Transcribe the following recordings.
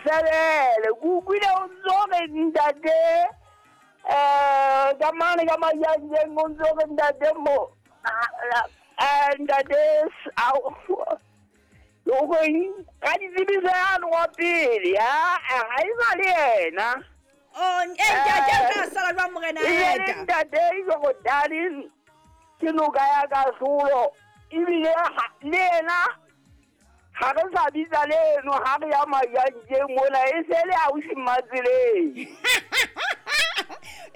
sebele ke utlwile o ntso re ntate um ka mane ka majanjeng o ntso re ntate mo ntate o ka ditsebiso yane wa pele ga e sa le yena. O ntate o tla sala jwang morena eta? Ntate Jorodane ke noka ya kahlolo ebile le yena ga re sa bitsa leno ga re ya majanjeng mona e se le ausi Matseleng.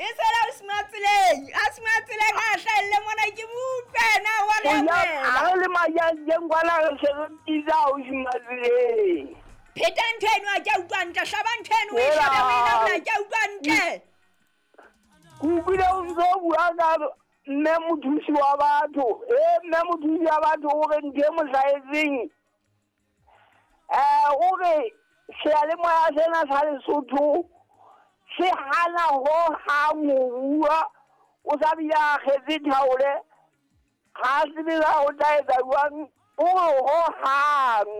E se le ausi Matseleng, ausi Matseleng a hlahelle mona ke mo utlwe na wa re ga re le majanjeng kwana re se re bitsa ausi Matseleng. Pheta ntho eno a ke a utlwa ntle, hlaba ntho eno o e hlabe o e laola ke a utlwa ntle. Ke utlwile o ntso bua ka mme mothusi wa batho, mme mothusi wa batho o re ntho e mo hlahetseng o re seyalemoya sena sa Lesotho se hana hohang ho bua, o sa bile a kgetse thaole, ga a tsebe na o tla etsa jwang, o re hohang.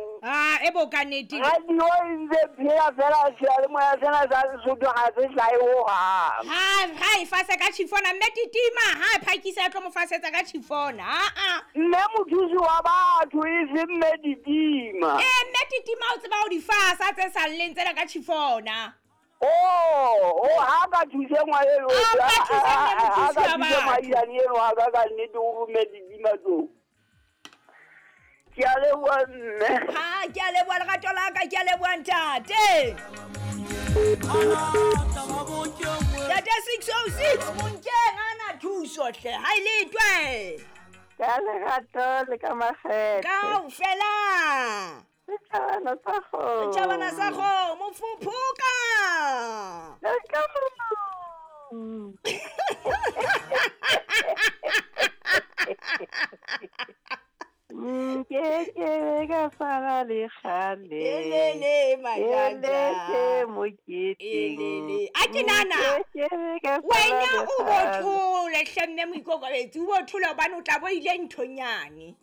E bo ka nnete. Radio e ntse phela fela seyalemoya sena sa Lesotho ga se hlahe hohang. Ha e fase ka tjhifona mme titima ha phakisa tlo mo fasetsa ka tjhifona. Mme mothusi wa batho e se mme titima. Mme titima o tseba ho di fasa tse salleng tsena ka tjhifona. Oh, ha ka thuse ngwana eno. Ha ka thuse mme mothusi wa batho. Maiyane eno ha ka nnete o mme titima tso. Ke a leboha mme. Ha ke a leboha lerato la ka, ke a leboha ntate. Ntate 606 monkeng ana thuso hle, ha e letwe. Ka lerato le ka makgethe. Kaofela. Setjhabana sa kgomo. Setjhabana sa kgomo, fuphuka. Nke ka sala le kgale. Elele majanja. Moketeng. A ke nana. Wena o bo thole hle mme moikokobetsi, o bo thole hobane o tla bo ile nthonyane.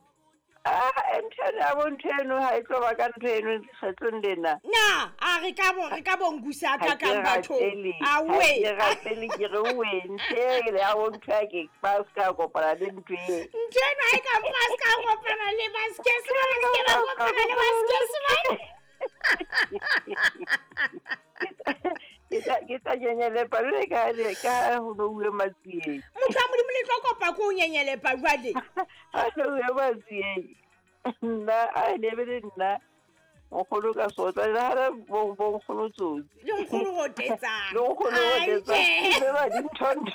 Ntho ya bo ntho eno ha e tlo ba ka ntho eno kgetlong lena. Na a re ka bo re ka bongusa ka kang batho. A we. Ke rapele ke re we nthe le ya bo ntho ya ke ba ska kopana le ntho e. Ntho eno ha e ka ba ska kopana le ba ske se ba ske ba kopana le ba ske se ba. Ke tla nyenyelepa le ka le ka ho no uwe matsieng. Motho wa Modimo le tlo kopa ko o nyenyelepa jwale. Ha no uwe matsieng. Nna a ne be le nna nkgono ka sotla le ha bo nkgono tsotsi. Le nkgono rotetsang. Le nkgono rotetsang. Le ba dinthonto.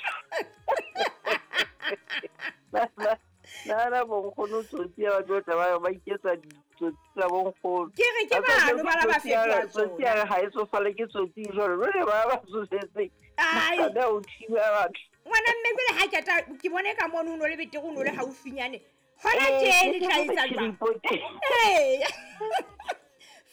Nna bo nkgono tsotsi ya batho ba ba iketsa tsotsi tsa bo nkgono. Ke re ke bano ba la ba fetoha tsotsi ya ha e tsofale ke tsotsi jwalo jwale ba ba tsofetse. Ai. Ba o thiba batho. Ngwana mme jwale ha ke ta ke bone ka mono no le betere o no le haufinyane. Hona tje le tla etsa jwang?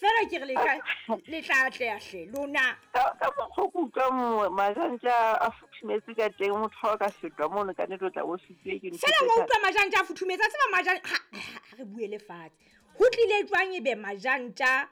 Fela ke re le tla atleha hle lona. Ka mokgwa ke utlwa majanja a futhumetse ka teng motho ha o ka fetwa mono ka nnete o tla bo sitwe ke ntho. Fela wa utlwa majanja a futhumetse, a tseba majanja ha re buele fatshe. Ho tlile jwang ebe majanja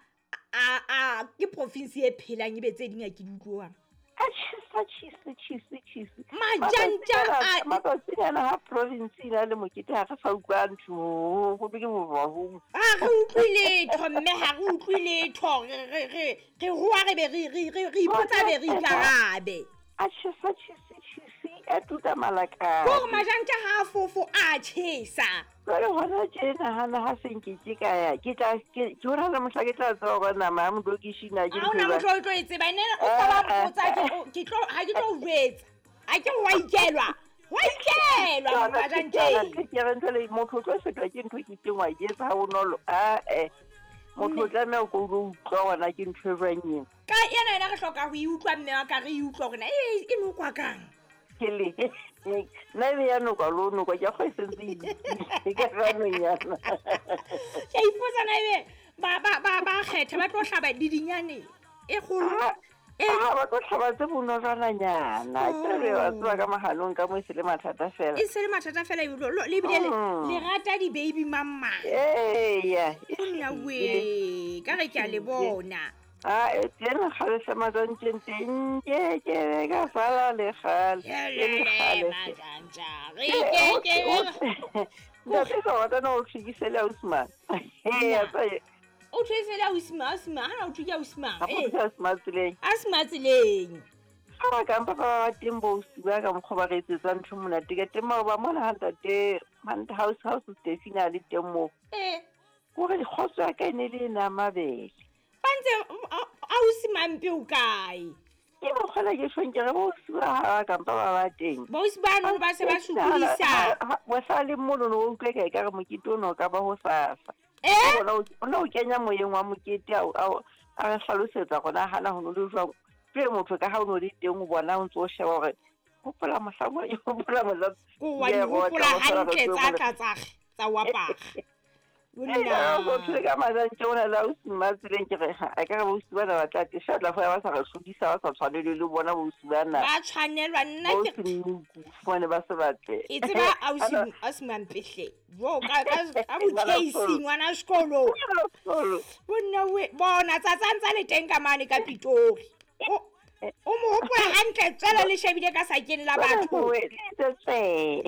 a ke province e phelang ebe tse ding a ke di utlwang? A chisa chisa chisa chisa. Majanja a matsatsinyana ha province ina le mokete ha re sa utlwa ntho go be ke bohong. Ha re utlwe letho mme ha re utlwe letho re re hoa re be re ipotsa be re ikarabe. A chisa chisa chisa a tuka malaka. Gore majanja ha fofo a chesa. Jwale hona tje nahana ha se nke ke ka ya ke tla ke hona le mohla ke tla tseba hore nama ya modokishina ke ntho. Ha ona motho o tlo e tseba ene o ka ba mpotsa ke tlo ha ke tlo o jwetsa. Ha ke wa ikelwa. Wa ikelwa majanja. Ke re ntho le motho o tlo fetwa ke ntho ke teng wa etsa ha bonolo. Motho o tlameha ko o utlwa hona ke ntho e jwang eo. Ka ena ena re hloka ho e utlwa mme wa ka re e utlwa hore na e nokwa kang. Ke le nna ebe ya nokwa lo nokwa ke kgo e sentse e ka ranonyana. Ke ipotsa na ebe ba kgetha ba tlo hlaba le dinyane e kgolo. Ha ba tlo hlaba tse bonolwananyana. Ke re ba tseba ka mahalong ka mo e se le mathata fela. E se le mathata fela le bile le rata di baby mama. Eya. Nna we ka re ke a le bona. A e teng kgale hle majantjeng teng nke ke be ka sala le kgale. E le kgale hle. Majantja re ke ke be Ntate ka rata na o tlhekise le ausi mang. Ee, O thwese le ausi mang, ausi mang, hana o thwe ke ausi mang. ga Ee, go ausi mang tseleng. ausi mang tseleng. Ga ba kampa ba ba teng bo ausi ba ka mokgwa ba re etsetsang ntho monate ka teng maoba mona ha ntate house house Stefina a le teng moo. Ee. Kore kgotso ya ka e ne le e na mabele. Ba ntse ausi mampe o kae? Ke mokgwela ke tjhong ke re bo ausi ba ha ba kampa ba ba teng. Bausi bano ba se ba sokodisa. Mohla le mono no utlwe ka ekare mokete ono o ka ba hosasa. Eh? Ona o kenya moyeng wa mokete a re hlalosetsa gona hana ho no le jwang. Jwale motho ka ha o no le teng o bona o ntso o sheba hore hopola mohlang o hopola mohlang. Ko wa di hopola hantle tsa tla tsa tsa wapaga. Ee, motho le ka majantje o na le ausi mma tseleng ke re a ka re bausi bana ba tla te sha tla foya ba sa re hlodisa ba sa tshwanelwe le bona bausi bana. Ba tshwanelwa nna ke Bausi Mmuku fumane ba se batle. Ke tseba ausi ausi Mampehle. Jo ka ka bo Casey ngwana sekolo. Bonna we bona tsatsa ntsa le teng ka mane ka Pitori. O mo hopola hantle tswela le shebile ka sakeng la batho. Tswe.